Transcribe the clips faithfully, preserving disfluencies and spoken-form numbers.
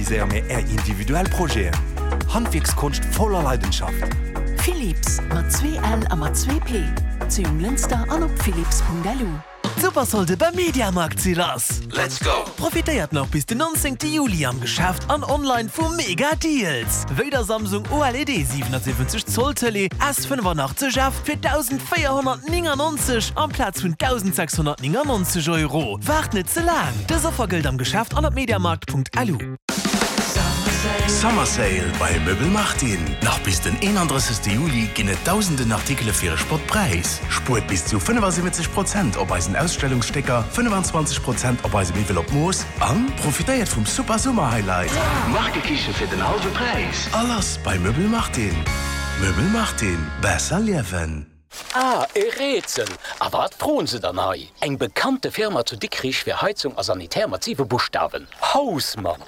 Realiséiere mir Är individuell Projeten. Handwierkskonscht voller Leidenschaft. Philips, mat zwee L a mat zwee P, zu Jonglënster an op philips.lu. D'Supersolde beim Mediamarkt si lass! Let's go! Profitéiert nach bis den nonzéngte Juli am Geschäft an online vu mega Deals! Wéi der Samsung O L E D siwenundsiwwenzeg Zoll Tëlee S fënnefanachtzeg F fir dausendvéierhonnertnéngannonzeg amplaz vun dausendsechshonnertnéngannonzeg Euro. Waart net ze laang! Dës Offer gëllt am Geschäft an op mediamarkt Punkt L U. Summer Sale bei Möbel Martin! Nach bis den eenandrëssegste Juli ginn et dausenden Artikele fir e Spottpräis. Spuert bis zu fënnefasiwwenzeg Prozent op eisen Ausstellungsstécker, fënnefenzwanzeg Prozent op eise Miwwel op Mooss an profitéiert vum super Summer Highlight, Markekiche fir den hallwe Präis! A lass bei Möbel Martin! Möbel Martin, besser liewen! Ah, e Rätsel! A wat froen se dann hei? Eng bekannte Firma zu Dikrich fir Heizung a Sanitär mat siwe Buschtawen. Hausmann!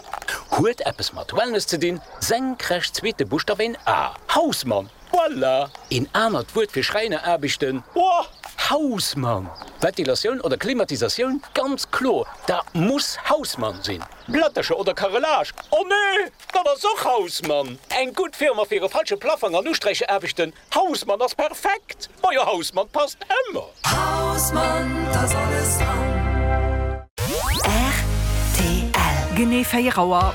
Huet eppes mat Wellness ze dinn, senkrecht zweete Buschtaf een A. Hausmann! Voilà! Een anert Wuert fir Schräineraarbechten? Woah! Hausmann! Ventilatioun oder Klimatisatioun? Ganz kloer, dat muss Hausmann sinn! Plättercher oder Carrelage? Oh nee! Dat ass och Hausmann! Eng gutt Firma fir e falsche Plaffong an Usträichaarbechten? Hausmann ass perfekt! Majo, Hausmann passt ëmmer! Hausmann, da ass alles dran! Rtl. Genee véier Auer.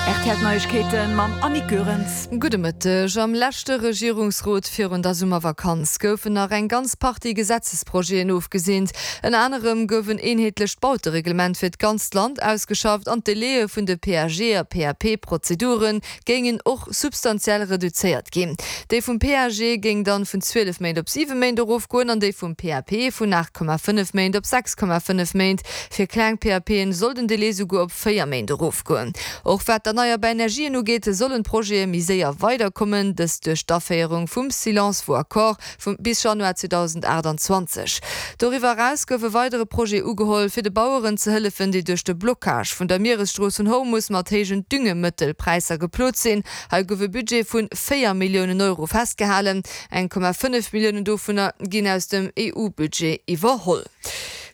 R T L Neiegkeeten mam Annick Goerens. Gudde Mëtteg. Am leschte Regierungsrot virun der Summervakanz goufen nach eng ganz Partie Gesetzesprojeten ofgeseent. Ënner anerem gouf en eenheetlecht Bautereglement fir d'ganzt Land ausgeschafft an d'Délaië vun de P A G a P A P-Prozedure géingen och substantiell reduzéiert ginn. Déi vum P A G géing dann vun zwielef Méint op siwe Méint erofgoen an déi vum P A P vun aacht Komma fënnef Méint op sechs Komma fënnef Méint. Fir kleng P A P'en soll den Delai souguer op véier Méint erofgoen. Och wat d'erneierbar Energien ugeet, sollen d'Projete méi séier weiderkommen, dëst duerch d'Aféierung vum Silence vaut accord vum bis Januar zweedausendachtanzwanzeg. Doriwwer eraus gouf e weidere Projet ugeholl, fir de Baueren ze hëllefen, déi duerch de Blockage vun der Mieresstrooss vun Hormus mat héijen Düngemëttelpräisser geplot sinn. Hei gouf e Budget vu véier Milliounen Euro festgehalen. Eng Komma fënnef Milliounen dovunner ginn aus dem E U-Budget iwwerholl.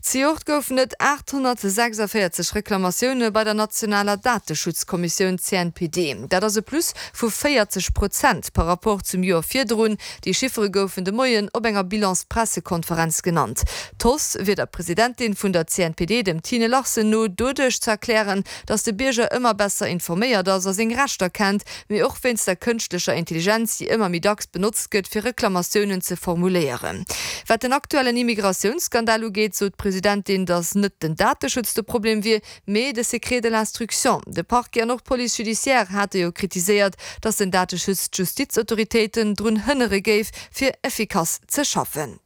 Zejoert goufen et aathonnertsechsundvéierzeg Reklamatioune bei der nationaler Dateschutzkommissioun C N P D. Dat ass e Plus vu véierzeg Prozent par rapport zum Joer virdrun. Déi Chiffere goufen de Moien op enger Bilanspressekonferenz genannt. D'Hausse wier der Presidentin vun der C N P D, dem Tine Larsen, no doduerch ze erklären, datt de Bierger ëmmer besser informéiert ass a seng Rechter kennt, mee och wéinst der kënschtlecher Intelligenz, déi ëmmer méi dacks benotzt gëtt, fir Reklamatiounen ze formuléieren. Wat den aktuellen Immigratiounsskandal ugeet, sot d'Presidentin, datt net den Dateschutz de Problem wier, mee de Secret de l'instruction. De Parquet an och d'Police judiciaire hate jo kritiséiert, datt den Dateschutz d'Justizautoritéiten drun hënnere géif, fir effikass ze schaffen.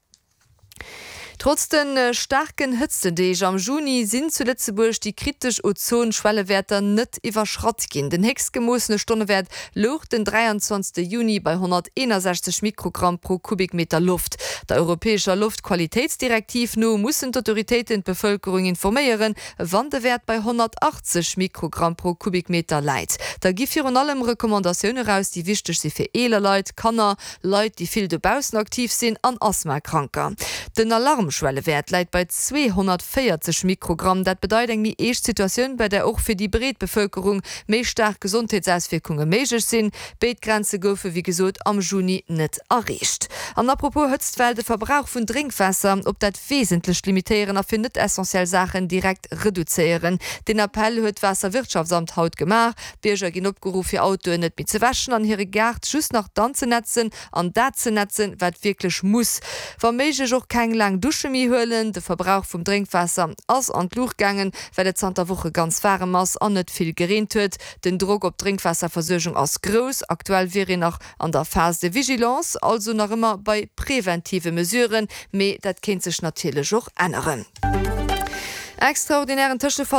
Trotz de staarken Hëtztedeeg am Juni sinn zu Lëtzebuerg déi kritesch Ozon-Schwellewäerter net iwwerschratt ginn. Den héchst gemoossene Stonnewäert louch den dräianzwanzegste Juni bei honnerteenundsechzeg Mikrogramm pro Kubikmeter Loft. Der europäescher Loftqualitéitsdirektiv no mussen d'Autoritéiten d'Bevëlkerung informéieren, wann de Wäert bei honnertachtzeg Mikrogramm pro Kubikmeter läit. Da gi virun allem Recommandatioune raus, déi wichteg si fir eeler Leit, Kanner, Leit, déi vill dobaussen aktiv sinn an Asthmakranker. Den Alarmschwellewäert läit bei zweehonnertvéierzeg Mikrogramm. Dat bedeit eng méi eescht Situatioun, bei der och fir déi breet Bevëlkerung méi staark Gesondheetsauswierkunge méiglech sinn. Béid Grenze goufe wéi gesot am Juni net erreecht. An apropos Hëtztwell, de Verbrauch vun Drénkwaasser op dat Wesentlecht limitéieren a fir net essentiell Saachen direkt reduzéieren. Den Appell huet d'Waasserwirtschaftsamt haut gemaach. D'Bierger ginn opgeruff, hir Autoen net méi ze wäschen an hire Gaart just nach dann ze netzen an dat ze netzen, wat wierklech muss. Wa méiglech och keng laang Dusche méi huelen. De Verbrauch vum Drénkwaasser ass an d'Luucht gaangen, well et zanter Woche ganz waarem ass an net vill gereent huet. Den Drock op d'Drénkwaasserversuergung ass grouss. Aktuell wier een nach an der Phase de vigilance, also nach ëmmer bei preventive Mesuren, mee dat kéint sech natierlech och änneren. Extraordinären Tëschefall